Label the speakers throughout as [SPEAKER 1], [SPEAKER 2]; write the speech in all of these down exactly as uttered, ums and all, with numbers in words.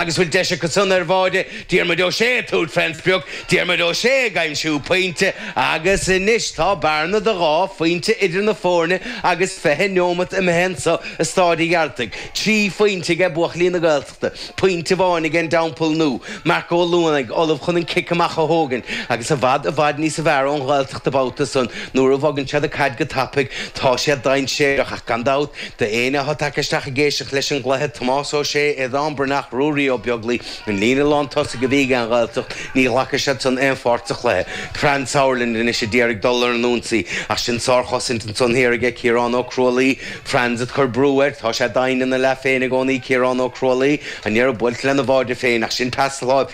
[SPEAKER 1] Agus bhfuil deis acu san ar bháide Diarmuid Ó Sé ag tabhairt fén sprioc, Diarmuid Ó Sé ag aimsiú pointe agus anois tá bearna de dhá phointe idir na foirne agus fiche neomat imithe anseo i Stáid an Ghearaltaigh. Trí phointe aige buachaillí na Gaeltachta, pointe amháin ag an dTeampall Nua. Marc Ó Luanaigh ullamh chun an cic amach a thógaint agus i bhfad i bhfad níos fearr ón Ghaeltacht an babhta san nuair a bhogann siad an caid go tapaidh tá sé dainséarach ach gan dabht D'éinne atá tagtha isteach ag éisteacht leis an gcluiche, Tomás Ó Sé, Aodán Breathnach, Ruairí Ó Beaglaoi, an líne lántosaigh a bhí ag an Ghaeltacht, ní ghlacfaidh siad san aon pháirt sa chluiche. Franz Sauerland anois a d'iarraidh dul ar an ionsaí ach sin sárchosaint ansan thiar aige Ciarán Ó Crualaoi. Franz ag cur brú air, tá sé doimhin ina leath féin i gcónaí Ciarán Ó Crualaoi, an iarraidh buailte lena bháide féin ach sin pas láimh,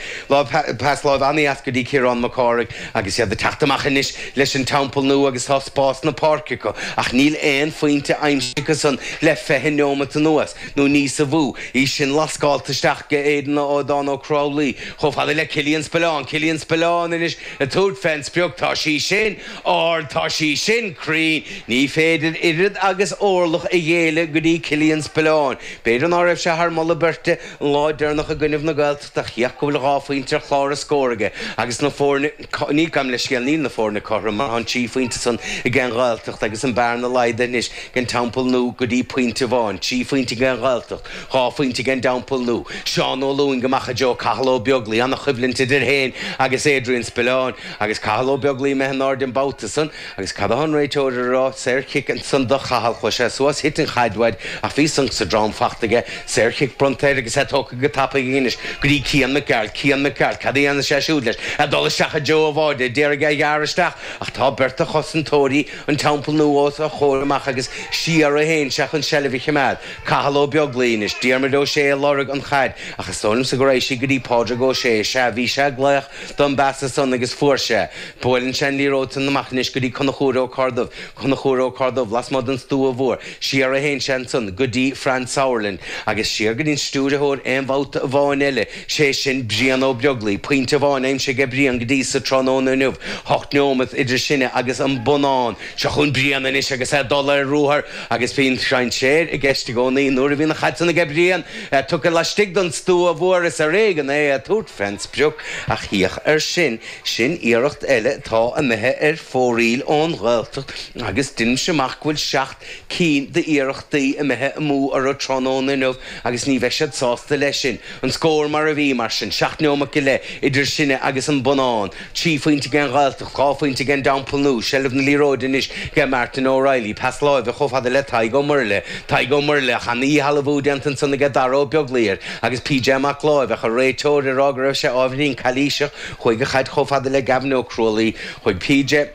[SPEAKER 1] pas láimh an-dheas go dtí Ciarán Mac Cárthaigh agus iad ag teacht amach anois leis an Teampall Nua agus tá spás na páirce acu ach níl aon phointe aimsithe acu san le fiche neomat anuas nó níosa mhó. Í sin lascálta isteach go Aidan Aodán Ó Crualaoi chomh fada le Cillian Spillane. Cillian Spillane anois ag tabhairt fén sprioc. Tá sí sin ard, tá sí sin cruinn. Ní féidir oiread agus orlach a ghéilleadh go dtí Cillian Spillane. B'fhéidir ná raibh sé thar moladh beirte an lá deireanach i gcoinnibh na Gaeltachta ach féach go bhfuil dhá phointe ar chlár a scóir aige agus na foirne, ní, gabh mo leithscéal, níl na foirne cothrom mar tá an trí phointe san ag an Ghaeltacht agus an bearna laghdaithe anois ag an Teampall Nua go dtí pointe amháin, trí phointe ag an Ghaeltacht, dhá phointe ag an dTeampall Nua. Seán Ó Lúing amach i dtreo Cathal Ó Beaglaoi, ana-choimhlint idir féin agus Adrian Spillane agus Cathal Ó Beaglaoi imithe in airde an babhta san agus cad atá an réiteoir a rá? Saorchic ansan do Chathal. Chuaigh sé suas, thit an chaid uaidh ach bhí sonc sa drom fachta aige. Saorchic bronnta air agus é tógtha go tapaidh aige anois go dtí Cian Mac Gearailt. Cian Mac Gearailt, cad a dhéanfaidh sé siúd leis? Ag dul isteach i dtreo a bháide, d'iarraidh é a ghearradh isteach ach tá beirt de chosantóirí an Teampaill Nua os a chomhair amach agus siar a théann sé chun seilbh a choimeád. Cathal Ó Beaglaoi anois, Diarmuid Ó Sé ag lorg an chaid ach is dóigh liomsa go raibh sí go dtí Pádraig Ó Sé. Sea, bhí sé ag glaoch don bpeasa san agus fuair sé. Buaileann sé an liathróid san amach anois go dtí Conchúr Ó Corrdubh. Conchúr Ó Corrdubh lasmuigh den stua mhór. Siar a théann sé ansan go dtí Franz Sauerland agus siar go dtí an stiúrthóir aon bhabhta amháin eile, sé sin Brian Ó Beaglaoi. Pointe amháin aimsithe aige Brian go dtí sa tráthnóna inniu. Hocht neomat idir sinne agus an bonnán. Seo chugainn Brian anois agus é ag dul ar ruathar agus bíonn dainséar i gceist i gcónaí nuair a bhíonn an chaid san aige Brian tugtha laistigh den stua mhór is ar éigean é ag tabhairt fén sprioc ach féach air sin, sin iarracht eile atá imithe ar fóraoil ón Ghaeltacht agus deinimse amach go bhfuil seacht cinn d'iarrachtaí imithe amú orthu tráthnóna inniu agus ní bheidh siad sásta leis sin. An scór mar a bhí, mar sin, seacht neomat go leith idir sinne agus an bonnán. Trí phointe ag an Ghaeltacht, dhá phointe ag an dTeampall Nua. Seilbh na liathróide anois ag Martin O'Reilly. Pas láimhe chomh fada le Tadhg Ó Muirthile. Tadhg Ó Muirthile, ach ana-dhíshealbhú déanta ansan aige Dara Ó Beaglaoi air agus PJ Mac Láimh, ach an réiteoir ag rá go raibh sé ábhairín calaoiseach. Chuaigh an chaid chomh fada le Gavin Ó Crualaoi. Chuaigh PJ.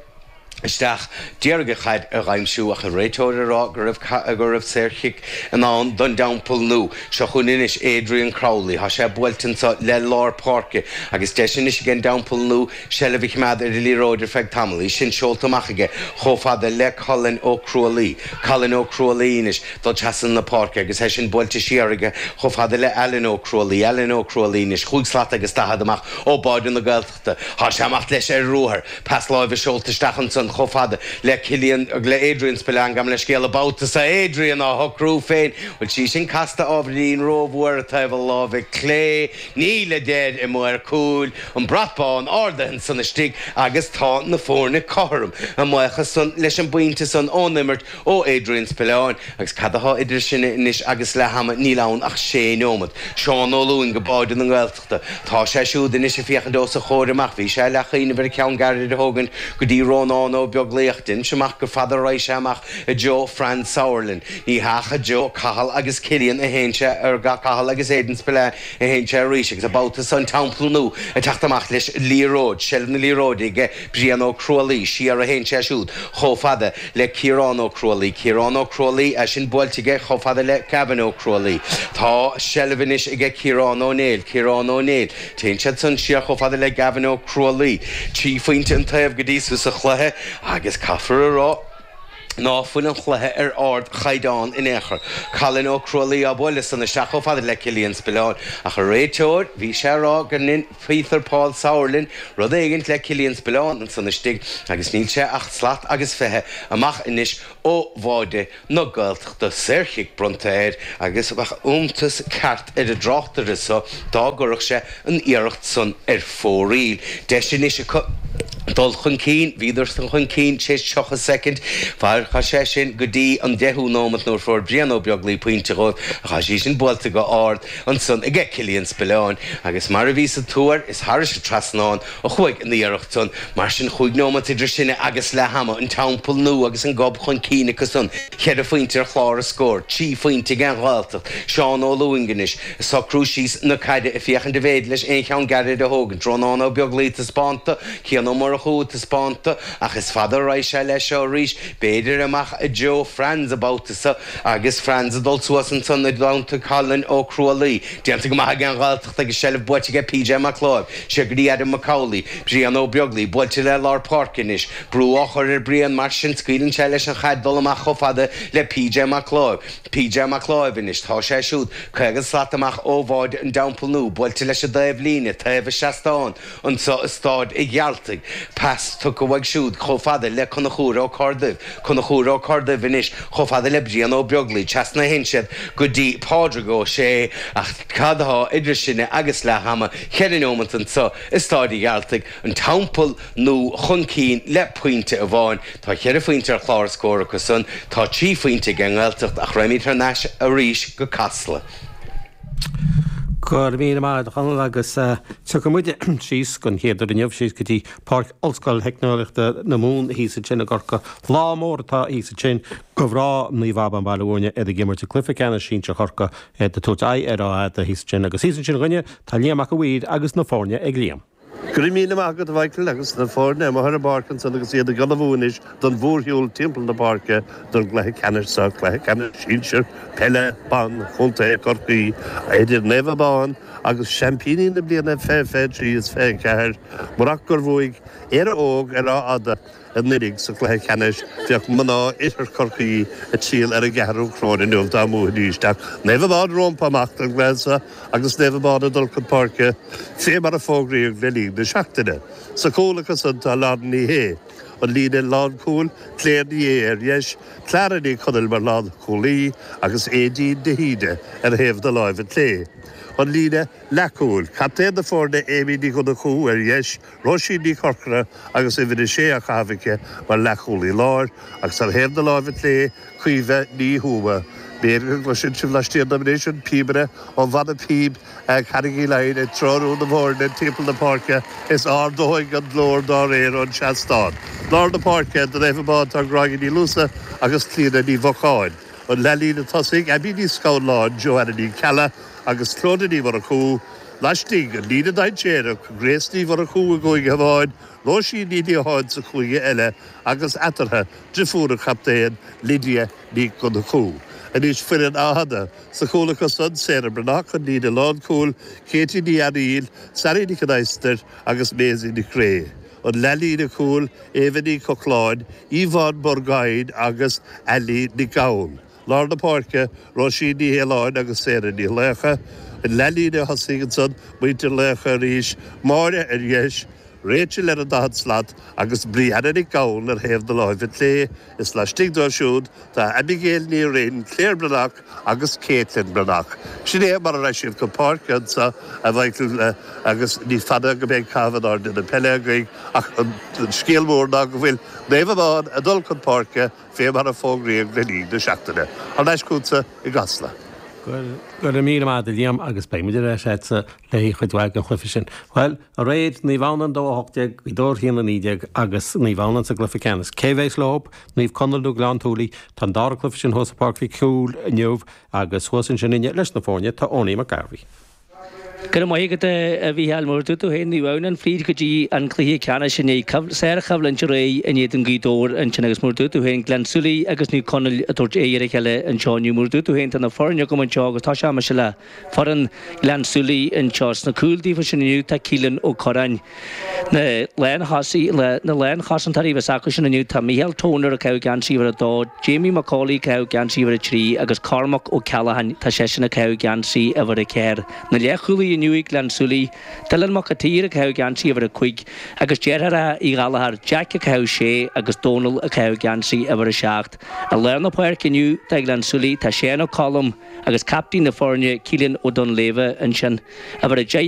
[SPEAKER 1] isteach. D'iarraidh an chaid a dh'aimsiú ach an réiteoir ag rá go raibh go raibh saorchic i ndán don dTeampall Nua. Seo chugainn anois Adrian Crowley. Tá sé buailte anseo le lár páirce agus deis anois ag an dTeampall Nua seilbh a choimeád ar an liathróid ar feadh tamaill. Í sin seolta amach aige chomh fada le Colin Ó Crualaoi. Colin Ó Crualaoi anois dul trasna na páirce agus é sin buailte siar aige chomh fada le Alan Ó Crualaoi. Alan Ó Crualaoi anois chúig slat agus daichead amach ó bháide na Gaeltachta. Tá sé amach leis ar ruathar. Pas láimhe seolta isteach ansan chomh fada le Cillian, le Adrian Spillane, gabh mo leithscéal, an babhta so Adrian á shocrú féin. Bhfuil sí sin casta ábhairín rómhór ar taobh a láimhe clé? Níl, a deir an maor cúil. An brat bán ardaithe ansan istigh agus tá na foirne cothrom. A mbuíochas san leis an bpointe san ón imirt ó Adrian Spillane. Agus cad atá idir sinne anois agus leath ama? Níl ann ach sé neomat. Seán Ó Lúing go báide na nGaeltachta. Tá sé siúd anois ag féachaint os a chomhair amach. Bhí sé leathchuimhneamh ar cheann gairid a thógaint go dtí Rónán Ó Beaglaoi ach deinimse amach gur fada a raghaidh sé amach i dtreo Franz Sauerland. Ní hea ach i dtreo Cathal agus Cillian a théann sé, ar Cathal agus Aidan Spillane a théann sé arís agus an babhta san Teampall Nua ag teacht amach leis an liathróid, seilbh na liathróide aige Brian Ó Crualaoi, siar a théann sé siúd chomh fada le Ciarán Ó Crualaoi. Ciarán Ó Crualaoi, é sin buailte aige chomh fada le Gavin Ó Crualaoi. Tá seilbh anois aige Ciarán Ó Néill. Ciarán Ó Néill. Téann siad san siar chomh fada le Gavin Ó Crualaoi. Trí phointe an taobh go dtí so sa chluiche agus caithfear a rá, Ná fuil an chluiche ar ardchaighdeán in aon chor. Colin Ó Crualaoi á bualadh san isteach chomh fada le Cillian Spillane. Ach an réiteoir, bhí sé a rá go ndein Peter Paul Sauerland rud éigint le Cillian Spillane ansan istigh agus níl sé ach slat agus fiche amach anois ó bháide na Gaeltachta. Saorchic bronnta air agus bheadh iontas ceart ar an dtráchtaire so dá gcuirfeadh sé an iarracht san ar fóraoil. Deis anois acu dul chun cinn, bhíodar san chun cinn tar éis tríocha soicind, chaith sé sin go dtí an deichiú nóimeat nuair fuair Brian Ó Beaglaoi pointe dhóibh ach tá sí sin buailte go ard ansan aige Cillian Spillane agus mar a bhí sa tuar is thairis an trasnán a chuaigh an iarracht san. Mar sin chúig nóimeat idir sinne agus leath ama, an Teampall Nua agus an Gob chun cinn acu san, ceithre phointe ar chlár an scóir, trí phointe ag an Ghaeltacht, Seán Ó Lúing anois ag socrú síos na caide ag féachaint an bhféidir leis aon cheann gairid a thógaint, Rónán Ó Beaglaoi taispeánta, Cian Ó Murchú taispeánta, ach is fada a raghaidh sé leis seo arís, b'fhéidir amach i dtreo Franz an babhta seo agus Franz ag dul suas ansan i dteannta Colin Ó Crualaoi. Déanta go maith ag an Ghaeltacht agus seilbh buaite aige P J Mac Láimh. Siar go dtí Adam McCauley. Brian Ó Beaglaoi buailte le lár páirce anois. Brú á chur ar Brian mar sin scaoileann sé leis an chaid dul amach chomh fada le P J Mac Láimh. P J Mac Láimh anois, tá sé siúd caoga slat amach ó bháide an Teampaill Nua, buailte leis an dtaobh líne, taobh an seastáin anso i Stáid a' Ghearaltaigh. Pas tugtha uaidh siúd chomh fada le Conchúr Ó Corrduibh. Conchúr Ó Corrduibh anois chomh fada le Brian Ó Beaglaoi. Trasna a théann siad go dtí Pádraig Ó Sé ach cad atá idir sinne agus leath ama? Ceithre neomat anso i Stáid a' Ghearaltaigh, an Teampall Nua chun cinn le pointe amháin. Tá ceithre phointe ar chlár an scóir acu san. Tá trí phointe ag an nGaeltacht ach raghaimid thar n-ais arís go Casla.
[SPEAKER 2] Go raibh míle maith agat a Chonaill agus tiocfaidh muide síos don chéad uair inniu síos go dtí Páirc Ollscoil Theicneolaíochta na Mumhan thíos ansin i gCorcaigh. Lá mór atá thíos ansin do mhná Naomh Abán Baile Bhúirne iad ag imirt i gcluiche ceannais sinsir Chorcaí iad ag tabhairt aghaidh ar Áth Fhada thíos ansin agus thíos ansin dhúinne tá Liam Mac a' Mhaoir agus na foirne ag Liam.
[SPEAKER 3] Go raibh míle maith agat a Mhichael agus na foirne amuigh ar an bpáirc ansan agus iad ag ullmhú anois don mhórshiúl timpeall na páirce don gcluiche ceannais seo, cluiche ceannais sinsir peile ban Chontae Chorcaí idir Naomh Abán agus seaimpíní na bliana fiche fiche trí is fiche ceathair murach gur bhuaigh Éire Óg ar Áth Fhada anuraidh sa chluiche ceannais bheadh mná Oirthear Chorcaí ag triall ar an gceathrú coróin inniu dá mbuafaidís. Ach Naomh Abán rompu amach don gcluiche seo agus Naomh Abán ag dul chun páirce fé mar a fógraíodh le linn na seachtaine. Sa chúl acu san tá Lauren Ní Shé, an líne lánchúil, Claire Ní Aodha ar dheis, Clara Ní Chonaill mar lánchúlaí agus Aedín de hÍde ar thaobh na láimhe clé. An líne leathchúil, captaen na foirne Amy Ní Dhonnchú ar dheis, Róisín Ní Chorcora agus uimhir a sé á chaitheamh aici mar leathchúlaí láir, agus ar thaobh na láimhe clé, Caoimhe Ní Thuama. B'fhéidir go gcloiseann sibh laistiar dom anois an píobaire ó Bhanna Píob Carraig Uí Leighin ag treorú na bhfoirne timpeall na páirce is ardóidh an glór dá réir ón seastán. Lár na páirce, do Naomh Abán tá Gráinne Ní Luasa agus Clíona Ní Mhocháin. An leathlíne tosaigh, Abbie Ní Scanláin, Joanna Ní Ceallaigh agus Clodagh Ní Mhurchú. Laistigh, an líne dainséarach, Grace Ní Mhurchú i gcúige amháin, Róisín Ní Liatháin sa chúige eile agus eatarthu, driofúr an chaptaein, Lydia Ní Dhonnchú. Anois foireann Áth Fhada. Sa chúl acu san, Sarah Breathnach, an líne lánchúil, Katie Ní Fhearaíl, Sally Nic an Adhastair agus Maisie Nic Craith. An leathlíne cúil, Eva Ní Chochláin, Yvonne Burgoyne agus Ali Nic Gabhann. Lár na páirce, Róisín Ní Fhaoláin agus Sarah Ní Laocha. An leathlíne thosaigh ansan, muintir Laocha arís, Máire ar dheis, Rachel ar an daichead slat agus Brianna Nic Gabhann ar thaobh na láimhe clé. Is laistigh dóibh siúd tá Abigail Ní Rinn, Claire Breathnach agus Caitlin Breathnach. Sin é mar a raibh siad chun páirce anso, a Mhichael, agus ní fada go mbeidh caitheamh in airde na peile againn ach an scéal mór ná go bhfuil Naomh Abán ag dul chun páirce fé mar a fógraíodh le linn na seachtaine. Thar n-ais chugatsa i gCasla.
[SPEAKER 2] Go raibh míle maith agat a Liam agus beidh muid ar ais agatsa le haghaidh chuid mhaith den chluiche sin. Bhuel, aréir, Naomh Adhamhnáin dó a hocht déag, Gaoth Dobhair a haon a naoi déag agus Naomh Adhamhnáin sa gcluiche ceannais. Cé bheas leo? Naomh Conaill nó Gleann tSúilí? Tá an dara cluiche sin thuas i Páirc Mhic Cumhaill inniu agus thuas ansin inne leis na foirne tá Owenie McGarvey.
[SPEAKER 4] Go raibh maith agat a Mhícheáil mar dúirt tú féin ní bheadh an fríd go dtí an cluiche ceannais inné sárchoimhlint aréir in éadan Ghaoth Dobhair ansin agus mar dúirt tú féin Gleann tSúilí agus Naomh Conaill ag tabhairt aghaidh ar a chéile anseo inniu mar dúirt tú féin tá na foirne agam anseo agus tosóidh mise le foireann Ghleann tSúilí anseo sna cúil daofa sin inniu tá Keelan Ó Curráin. Na lánchosaí na lánchosantóirí a bheas acu sin inniu tá Micheál Toner ag caitheamh geansaí uimhir a dó, Jamie McCauley ag caitheamh geansaí uimhir a trí agus Cormac Ó Ceallacháin tá seisean ag caitheamh geansaí uimhir a ceathair. Na leathchúlaithe inniu ag Gleann tSúilí, Dylan Mac a tSaoir ag caitheamh geansaí uimhir a cúig agus deartháireacha Uí Ghallchóir Jack ag caitheamh sé agus Dónal ag caitheamh geansaí uimhir a seacht. I lár na páirce inniu do Ghleann tSúilí tá Séan Ó Colm agus captaen na foirne Keelan Ó Donléibhe ansin. Uimhir a deich